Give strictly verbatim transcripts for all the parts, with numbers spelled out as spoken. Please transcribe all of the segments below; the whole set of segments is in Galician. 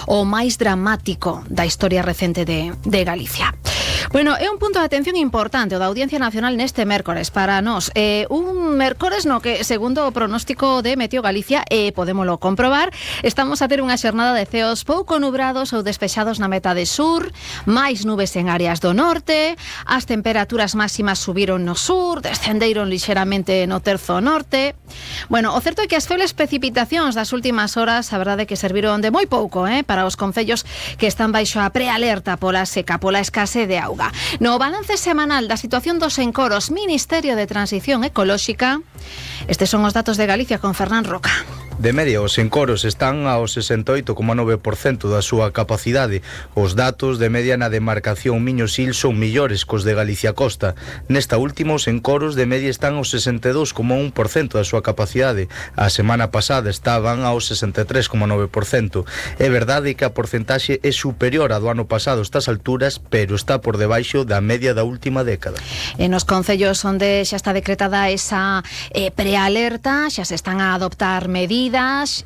o máis dramático da historia recente de, de Galicia. Bueno, é un punto de atención importante o da Audiencia Nacional neste mércores para nós. Eh, un mércores no que, segundo o pronóstico de Meteo Galicia, e eh, podémolo comprobar, estamos a ter unha xornada de ceos pouco nubrados ou despexados na metade sur, máis nubes en áreas do norte, as temperaturas máximas subiron no sur, descenderon lixeramente no terzo norte. Bueno, o certo é que as febles precipitacións das últimas horas, a verdade é que serviron de moi pouco, eh, para os concellos que están baixo a prealerta pola seca, pola escasez de auga. No balance semanal da situación dos encoros, Ministerio de Transición Ecolóxica, estes son os datos de Galicia con Fernán Roca. De media, os encoros están ao sesenta e oito coma nove por cento da súa capacidade. Os datos de media na demarcación Miño-Sil son millores cos de Galicia Costa. Nesta última, os encoros de media están ao sesenta e dous coma un por cento da súa capacidade. A semana pasada estaban ao sesenta e tres coma nove por cento. É verdade que a porcentaxe é superior a do ano pasado estas alturas, pero está por debaixo da media da última década. En os concellos onde xa está decretada esa eh, prealerta, xa se están a adoptar medidas,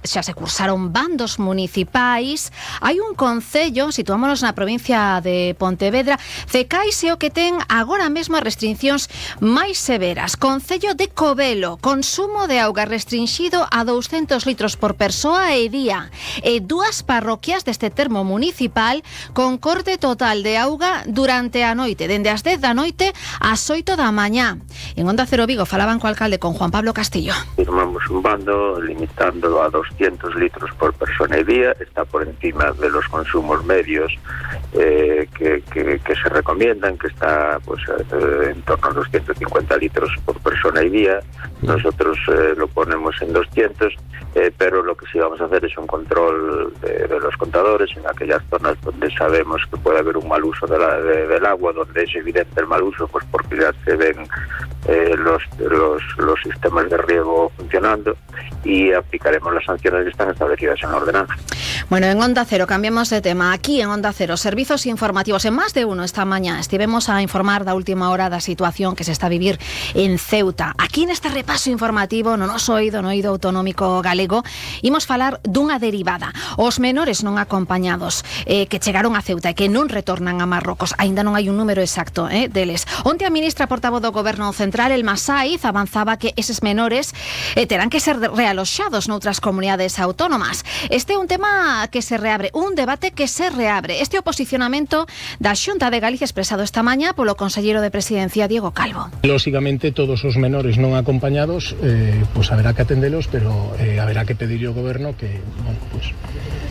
xa se cursaron bandos municipais. Hai un concello, situámonos na provincia de Pontevedra, Cecais é o que ten agora mesmo as restriccións máis severas. Concello de Covelo, consumo de auga restringido a douscentos litros por persoa e día, e dúas parroquias deste termo municipal con corte total de auga durante a noite, dende as dez da noite ás oito da mañá. En Onda Cero Vigo falaban co alcalde, con Juan Pablo Castillo. Firmamos un bando limitando a doscientos litros por persona y día, está por encima de los consumos medios eh, que, que, que se recomiendan, que está pues eh, en torno a los ciento cincuenta litros por persona y día. Nosotros eh, lo ponemos en doscientos, eh, pero lo que sí vamos a hacer es un control de, de los contadores en aquellas zonas donde sabemos que puede haber un mal uso de la, de, del agua, donde es evidente el mal uso, pues porque ya se ven eh, los, los, los sistemas de riego funcionando, y aplicaremos las sanciones que están establecidas en la ordenanza. Bueno, en Onda Cero cambiamos de tema. Aquí en Onda Cero, servizos informativos. En más de uno esta mañá estivemos a informar da última hora da situación que se está a vivir en Ceuta. Aquí neste repaso informativo, no noso oído, no oído autonómico galego, imos falar dunha derivada. Os menores non acompañados eh, que chegaron a Ceuta e que non retornan a Marrocos. Ainda non hai un número exacto eh, deles. Onte a ministra portavoz do Goberno Central, Elma Saiz, avanzaba que eses menores eh, terán que ser realoxados noutras comunidades autónomas. Este é un tema que se reabre, un debate que se reabre. Este é o posicionamento da Xunta de Galicia expresado esta mañá polo conselleiro de Presidencia, Diego Calvo. Lógicamente, todos os menores non acompañados, eh, pues haberá que atendelos, pero eh, haberá que pedirle ao Goberno que, bueno, pues,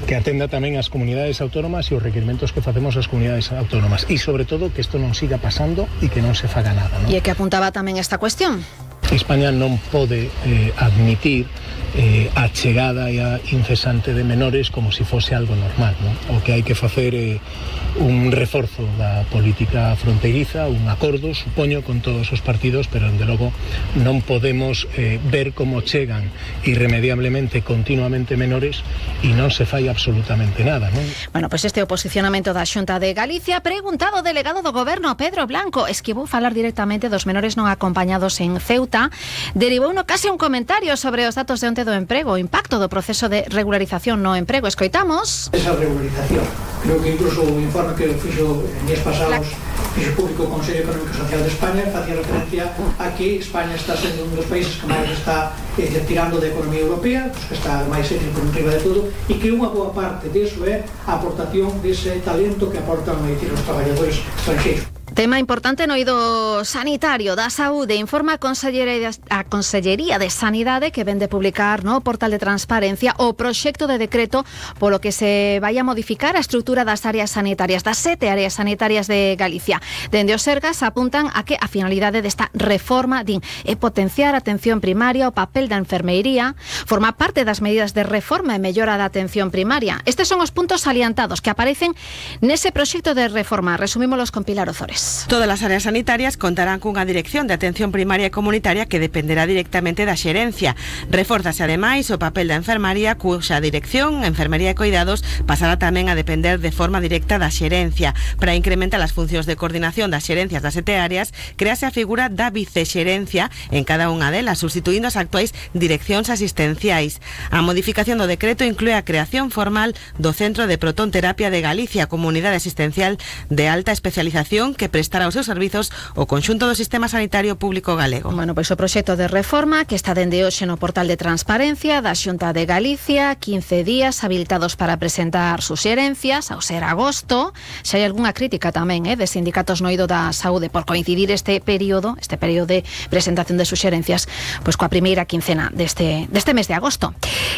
que atenda tamén as comunidades autónomas e os requerimentos que facemos as comunidades autónomas. E, sobre todo, que isto non siga pasando e que non se faga nada, ¿no? E que apuntaba tamén esta cuestión. España non pode eh, admitir eh, a chegada e a incesante de menores como se fose algo normal, ¿no? O que hai que facer é eh, un reforzo da política fronteiriza, un acordo, supoño, con todos os partidos, pero, dende logo, non podemos eh, ver como chegan irremediablemente, continuamente menores e non se fai absolutamente nada, ¿no? Bueno, pois pues este é o posicionamento da Xunta de Galicia. Preguntado o delegado do Goberno, Pedro Blanco, es que vou falar directamente dos menores non acompañados en Ceuta, derivou no case un comentario sobre os datos de onte do emprego, o impacto do proceso de regularización no emprego. Escoitamos. Esa regularización, creo que incluso o informe que fixo en días pasados fixo público o Consello Económico e Social de España facía referencia a que España está sendo un dos países que máis está eh, tirando da economía europea, pues, que está máis ético por riba de todo, e que unha boa parte disso é a aportación dese talento que aportan decir, os traballadores estranxeiros. Tema importante no eido sanitario da saúde. Informa a Consellería, a Consellería de Sanidade que vende publicar no portal de transparencia o proxecto de decreto polo que se vai a modificar a estrutura das áreas sanitarias, das sete áreas sanitarias de Galicia. Dende os Sergas apuntan a que a finalidade desta reforma din é potenciar a atención primaria, o papel da enfermeiría, forma parte das medidas de reforma e mellora da atención primaria. Estes son os puntos salientados que aparecen nese proxecto de reforma. Resumímolos con Pilar Ozores. Lois. Todas as áreas sanitarias contarán cunha dirección de atención primaria e comunitaria que dependerá directamente da xerencia. Refórzase ademais o papel da enfermaría, cuxa dirección, enfermería e cuidados, pasará tamén a depender de forma directa da xerencia. Para incrementar as funcións de coordinación das xerencias das sete áreas, crease a figura da vicexerencia en cada unha delas, sustituindo as actuais direccións asistenciais. A modificación do decreto inclúe a creación formal do Centro de Protonterapia de Galicia, comunidade asistencial de alta especialización que prestará os seus servizos o conxunto do sistema sanitario público galego. Bueno, pois o proxecto de reforma que está dende hoxe no portal de transparencia da Xunta de Galicia, quince días habilitados para presentar suxerencias, ao ser agosto. Xa hai algunha crítica tamén eh, de sindicatos no eido da saúde por coincidir este período, este período de presentación de suxerencias, pois coa primeira quincena deste, deste mes de agosto.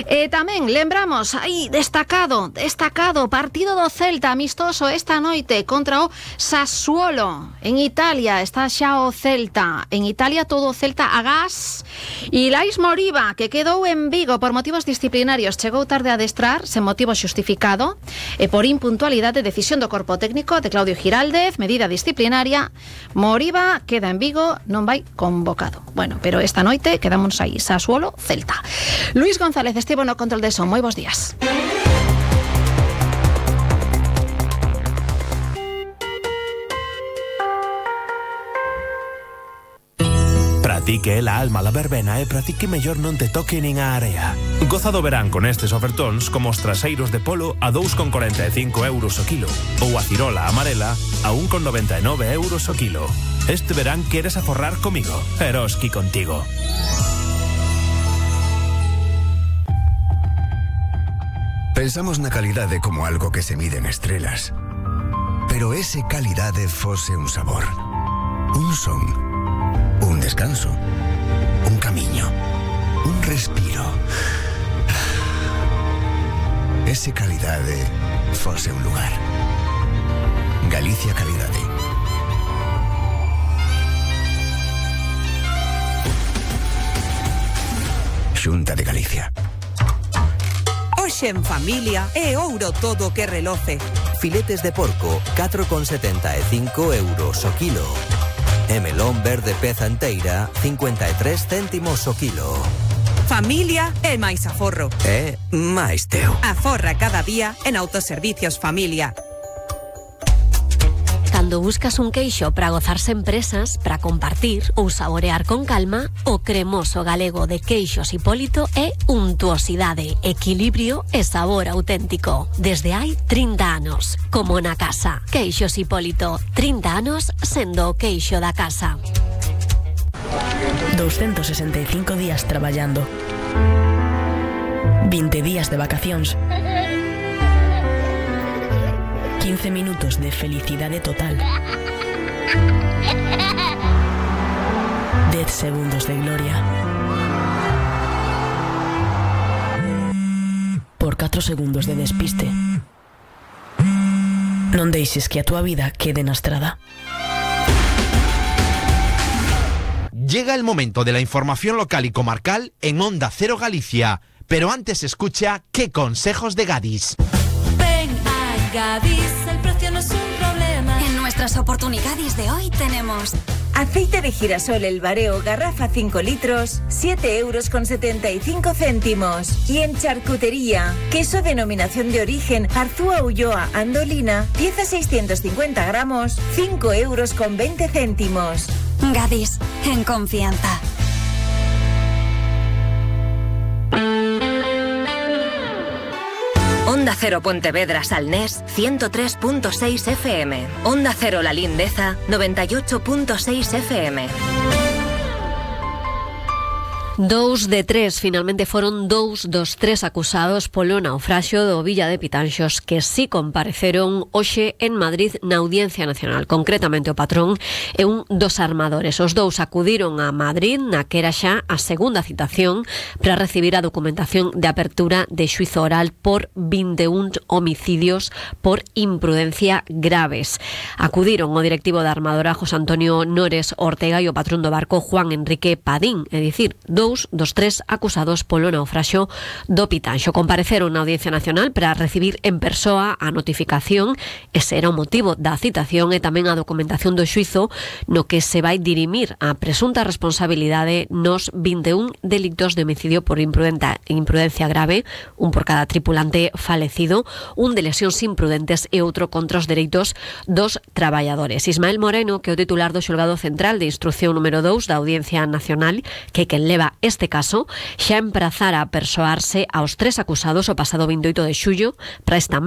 E tamén lembramos, aí destacado, destacado partido do Celta amistoso esta noite contra o Sassuolo en Italia. Está xa o Celta en Italia, todo o Celta a gas. E Lais Moriba, que quedou en Vigo por motivos disciplinarios, chegou tarde a adestrar sen motivo xustificado e por impuntualidade, decisión do corpo técnico de Claudio Giraldez, medida disciplinaria. Moriba queda en Vigo, non vai convocado. Bueno, pero esta noite quedamos aí, Sassuolo, Celta. Luis González estivo no control de son. Moi bons días. Pratique la alma la verbena e pratique mellor non te toque nin a area. Goza do verán con estes ofertóns como os traseiros de polo a dous con corenta e cinco euros o kilo ou a cirola amarela a un con noventa e nove euros o kilo. Este verán queres aforrar comigo, Eroski contigo. Pensamos na calidade como algo que se mide en estrelas. Pero ese calidade fose un sabor, un son, un descanso, un camiño, un respiro. Ese calidade fose un lugar. Galicia Calidade. Xunta de Galicia. Hoxe en familia é ouro todo que reloce. Filetes de porco, catro con setenta e cinco euros o kilo. E melón verde peza enteira, cincuenta e tres céntimos o kilo. Familia é máis aforro. É máis teu. Aforra cada día en Autoservicios Familia. Cando buscas un queixo para gozar sen presas, para compartir ou saborear con calma, o cremoso galego de Queixos Hipólito é untuosidade, equilibrio e sabor auténtico. Desde hai trinta anos, como na casa. Queixos Hipólito, trinta anos sendo o queixo da casa. doscientos sesenta e cinco días traballando. vinte días de vacacións. quince minutos de felicidade total. diez segundos de gloria. Por catro segundos de despiste. Non deixes que a túa vida quede na estrada. Llega el momento de la información local y comarcal en Onda Cero Galicia, pero antes escucha ¿Qué consejos de Gadis? Ven a Gadis, el precio no es un problema. En nuestras oportunidades de hoy tenemos aceite de girasol El Bareo, garrafa cinco litros, siete euros con setenta y cinco céntimos. Y en charcutería, queso denominación de origen Arzúa Ulloa Andolina, pieza seiscientos cincuenta gramos, cinco euros con veinte céntimos. Gadis, en confianza. Onda Cero Pontevedra Salnés, ciento tres punto seis F M. Onda Cero La Lindeza, noventa y ocho punto seis F M. Dous de tres, finalmente foron dous dos tres acusados polo naufraxio do Villa de Pitanxos que sí compareceron hoxe en Madrid na Audiencia Nacional. Concretamente o patrón e un dos armadores. Os dous acudiron a Madrid na que era xa a segunda citación para recibir a documentación de apertura de xuizo oral por vinte e un homicidios por imprudencia graves. Acudiron o directivo da armadora José Antonio Nores Ortega e o patrón do barco Juan Enrique Padín, é dicir, dous dous dos tres acusados polo naufraxio do Pitanxo. Compareceron na Audiencia Nacional para recibir en persoa a notificación. Ese era o motivo da citación e tamén a documentación do xuizo no que se vai dirimir a presunta responsabilidade nos vinte e un delictos de homicidio por imprudencia, imprudencia grave, un por cada tripulante falecido, un de lesións imprudentes e outro contra os dereitos dos traballadores. Ismael Moreno, que é o titular do Xulgado Central de Instrucción número dous da Audiencia Nacional, que quen leva este caso, xa emprazara a persoarse aos tres acusados o pasado vinte e oito de xullo para esta mesma